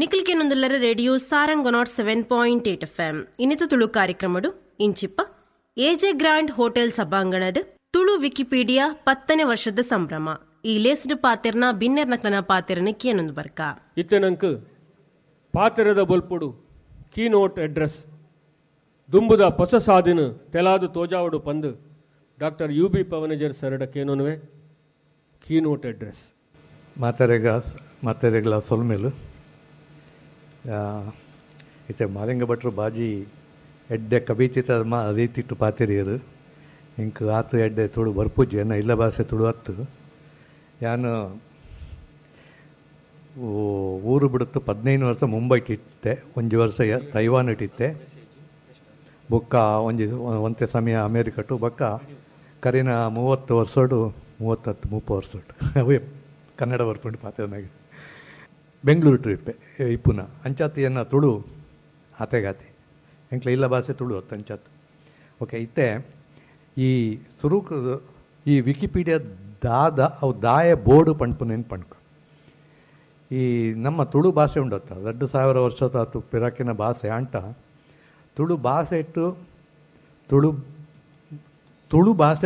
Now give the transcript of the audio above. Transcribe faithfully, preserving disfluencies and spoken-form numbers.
ನಿಖಿಲ್ ಕೆನೊಂದುಲ್ಲರ radio Sarang nought seven point eight F M ಇನ್ನಿತ ತುಳು ಕಾರ್ಯಕ್ರಮಡು ಇಂಚಿಪ್ಪ ಎಜೆ ಗ್ರ್ಯಾಂಡ್ ಹೋಟೆಲ್ ಸಭಾಂಗಣದ ತುಳು ವಿಕಿಪೀಡಿಯಾ ಪತ್ತನೇ ವರ್ಷದ ಸಂಭ್ರಮ ಈ ಲೇಸ್ಡ್ ಪಾತೆರ್ನ ಬಿನ್ನೆರ್ನಕ್ಲನ ಪಾತೆರನ ಕೇನೊಂದು ಬರ್ಕ ಇತ್ತೆನಂಕ್ ಪಾತೆರದ ಬೊಲ್ಪುಡು ಕೀನೋಟ್ ಅಡ್ರೆಸ್ ದುಂಬುದ ಪೊಸ ಸಾದಿನ ತೆಲಾದು ತೋಜಾವಡು ಪಂದು ಡಾಕ್ಟರ್ you B ಪವನಜರ್ ಸರಡ ಕೇನೋನುವೆ ಕೀನೋಟ್ ಅಡ್ರೆಸ್ ಮಾತೆರೆಗ ಮಾತೆರೆಗ್ಲ ಸೊಲ್ಮೆಲು ಇತ್ತೆ ಮಾಲಿಂಗ ಭಟ್ರು ಬಾಜಿ ಎಡ್ಡೆ ಕವಿತಿತ ಮಾ ರೀತಿಟ್ಟು ಪಾತೆರಿಯರು ಇಂಕ್ ಆತು ಎಡ್ಡೆ ತುಳು ಬರ್ಪುಜಿ ಎನ್ನ ಇಲ್ಲ ಭಾಷೆ ತುಳು ಅತ್ತು ಯಾನು ಊರು ಬಿಡುತ್ತು ಪದಿನೈದು ವರ್ಷ ಮುಂಬೈಟ್ ಇತ್ತೆ ಒಂಜಿ ವರ್ಷ ತೈವಾನ್ ಇಟ್ಟಿತ್ತೆ ಬೊಕ್ಕ ಒಂಜಿ ಒಂತೆ ಸಮಯ ಅಮೇರಿಕಟು ಬೊಕ್ಕ ಕರಿನ ಮೂವತ್ತು ವರ್ಷಡು ಮೂವತ್ತತ್ತು ಮುಪ್ಪ ವರ್ಷಡು ಅವೇ ಕನ್ನಡ ಬರ್ಪುಂಡು ಪಾತೆರ್ನಾಗ ಬೆಂಗಳೂರು ಟ್ರಿಪ್ ಇಪ್ಪುನ ಅಂಚಾತ್ ಎನ್ನ ತುಳು ಆತೆಗಾತೆ ಎಂಕ್ಲ ಇಲ್ಲ ಭಾಷೆ ತುಳು ಅತ್ತು ಅಂಚಾತ್ ಓಕೆ ಇತ್ತೆ ಈ ಸುರುಕು ಈ ವಿಕಿಪೀಡಿಯಾ ದಾದ ಅವು ದಾಯ ಬೋರ್ಡು ಪಣ್ಪುನೇನು ಪಣ್ಕ ಈ ನಮ್ಮ ತುಳು ಭಾಷೆ ಉಂಡತ್ತ ಎರಡು ಸಾವಿರ ವರ್ಷದ ಆತು ಪಿರಾಕಿನ ಭಾಷೆ ಅಂಟ ತುಳು ಭಾಷೆ ಇಟ್ಟು ತುಳು ತುಳು ಭಾಷೆ